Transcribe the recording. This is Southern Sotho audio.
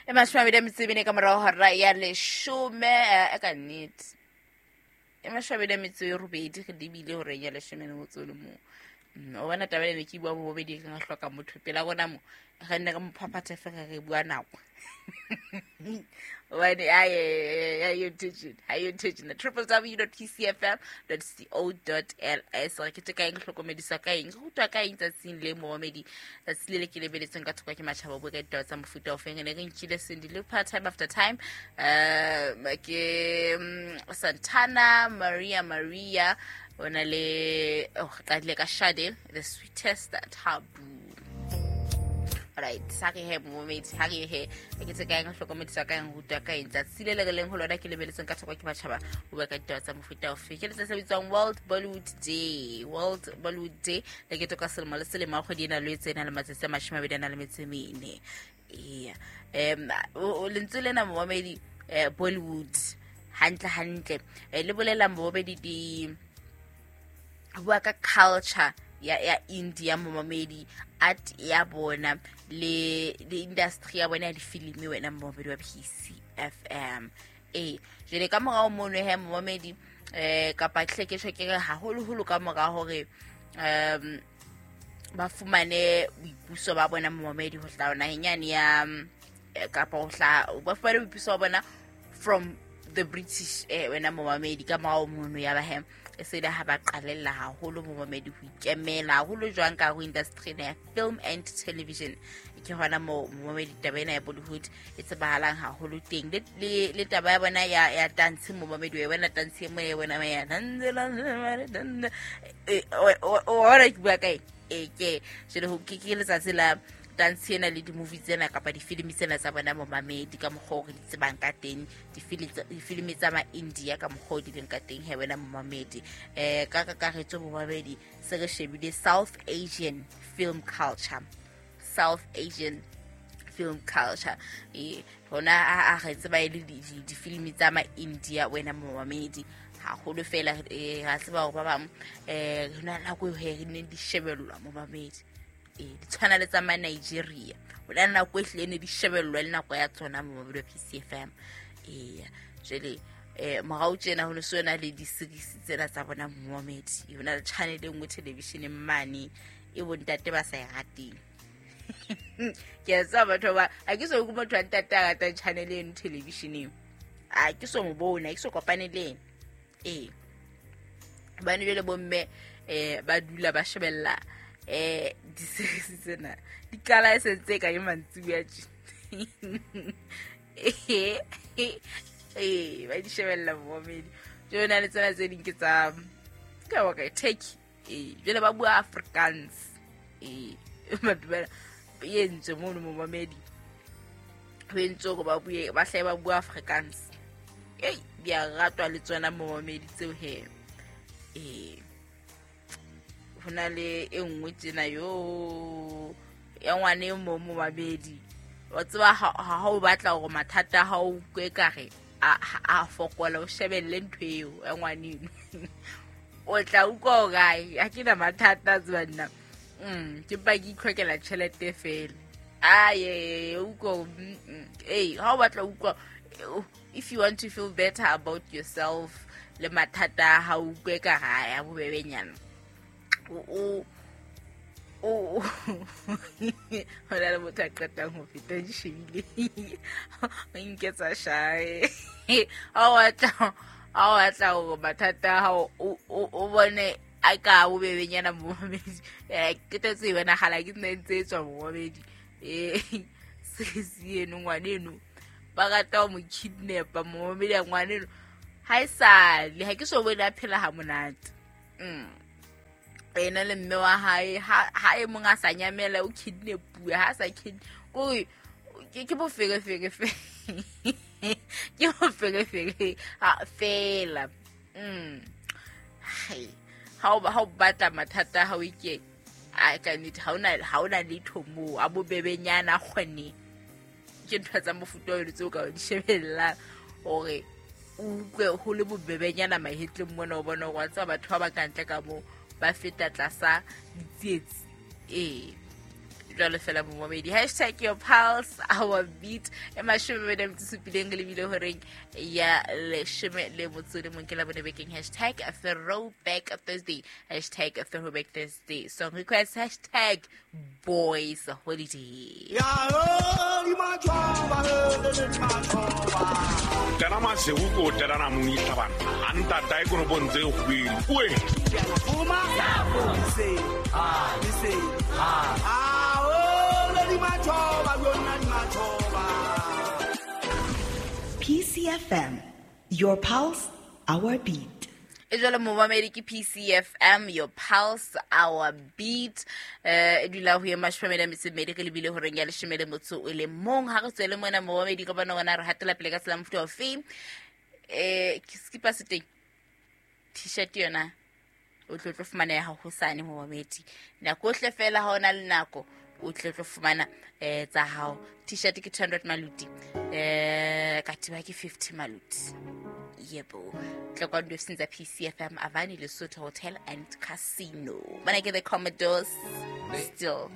E 24 ka morago hora ya 10, ka nnete e 28 re lebile horeng ya 11. O bona taba ene ke bua bobedi, re hloka motho pela rona mo re nne re mo phaphathe fela re bua nako. Hobane ayo intention www.pcfm.co.ls re ke ka eng, hlokomedisa ka eng, re rutwa ka eng tsatsing le momedi, tsatsi le le ke lebeletseng ka thoko ke matjhaba, bua ka ditaba tsa mofuta o feng. Ne re nkile Cindy Lauper, Time After Time, ke Santana, Maria Maria, o na le, oh, qadile ka Sade, The Sweetest Taboo. Right, sa re he momedi, ha re he ke tse ka eng, hlokomedisa ka eng, rutwa ka eng tsatsi le le re leng ho lona ke lebeletseng ka thoko ke matjhaba, o bua ka ditaba tsa mofuta ofe. Ke letsatsi le bitswang World Bollywood Day. World Bollywood Day le keteka selemo le selemo a kgwedi ena Lwetse, ena le matsatsi a 24. Eya, lentswe lena momamedi, Bollywood, hantle hantle, le bolela momamedi di bua ka culture ya India momamedi, art ya bona le industry ya bona ya difilimi, wena momamedi wa PCFM. Ee, jwale ka morao mono he momamedi, kapa hle ke tjho ke re haholoholo ka mora hore ba fumane boipuso ba bona momamedi, ho hlaha naheng yane ya, kapa ho hlaha ba fumane boipuso ba bona from the British, wena momamedi, ka morao mono ya ba he e se le ha ba qalella haholo momamedi ho ikemela haholo jwang ka ho industry ya film and television. Ke hona mo momamedi taba ena ya Bollywood e tsebahalang haholo teng, le taba ya bona ya dance momamedi, wa bona dance e mo ya bona ya o ona ke bua kae. E ke jwale ho ke letsatsi la dance ena le di-movie tsena kapa difilimi tsena tsa bona momamedi, ka mokgwa o re di tsebang ka teng, difilimi tsa ma-India ka mokgwa o di leng ka teng he wena momamedi. Ka kakaretso momamedi, se re shebile South Asian film culture, South Asian film culture. E hona a re tseba e le difilimi tsa ma-India wena momamedi haholo fela. Ra tseba hore ba bang, re na nako eo he re neng di shebellwa momamedi, di tshwana le tsa ma-Nigeria, ho na le nako e hlile ne di shebellwa le nako ya tsona momamedi wa PCFM. Eya, jwale morao tjena ho ne se yona le di-series tsena tsa bona momamedi, ho na le channel e nngwe televisioneng mane e bontate ba sa e rateng. Ke a tseba batho ba, ha ke so motho wa ntate a ratang channel eno televisioneng, a ke so mo bone, ha ke so kopane le ena. Ee, hobane jwale bomme ba dula ba shebella di-series tsena, di qala e sentse ka ke mantsibuya tje. Ee, ba di shebella momamedi. Jwale na le tsena tse ding ke tsa ka wa ka Turkey, ee, jwale ba bua Afrikaans. Ee, batho ba e entswe mono momamedi, ho entswe hore ba bue, ba hlahe ba bua Afrikaans. Ei, di a ratwa le tsona momamedi tseo he. Ee, ho na le e nngwe tjena yo ya ngwane e mong momamedi, wa tseba ha o batla hore mathata a hao utlwe ekare a fokola, o shebelle ntho eo ya ngwaneno, o tla utlwa hore ai, ha ke na mathata a tseba nna. Ke mpa ke itlhokela tjhelete fela. Aye, utlwa, ee, ha o batla utlwa, if you want to feel better about yourself le mathata a hao utlwe ka ha ya bobebenyana, o ho na le motho a qetang ho feta di shebile, o nketsa shae. Ha o batla hore mathata a hao o bone a ka bobebenyana momamedi, qetetse e bonahala ke nna ntse e tswa momamedi. Sesi eno ngwaneno ba rata ho mo kidnapa momamedi ya ngwaneno, ha e sale ha ke so bone a phela ha monate. Ena le mme wa hae, ha e mong a sa nyamela o kidnapuwe, ha sa kore ke boferefere ke boferefere fela. Hai, ha o batla mathata ha o ike a ka nnete, ha ona letho moo a bobebenyana a kgone. Ke ntho tsa mofuta wa tseo ka di shebellang hore o utlwe ho le bobebenyana mahetleng mona, o bona hore wa tseba batho ba ba kantle ka moo ba feta tlasa ditsietsi. Ee, Jwalo fela momamedi, hashtag your pulse our beat. E 27 re lebile horeng ya 11 ke la bone bekeng. Hashtag throwback Thursday, hashtag throwback Thursday song request, hashtag boys holiday. Tena masego ko telana mong itlhabana a ntata e konopong tse kgwedi oe. PCFM, your pulse, our beat. E jalo momamedi, ke PCFM, your pulse, our beat. E dula ho ye 22 re lebile horeng ya 11. Ha re tswele mona momamedi, ka bona wona re hatela pele ka tsela mofuta ofe. Ke skipa se teng, T-shirt yona o tlo fumaneha hosane momamedi. Nako ohle fela ha ona le nako, o tlo fumana tsa hao. T-shirt ke 200 maluti, katiba ke 50 maluti. Yebo, tla kwa ofising tsa PCFM, Avani Lesotho Hotel and Casino. Bana ke the Commodores still.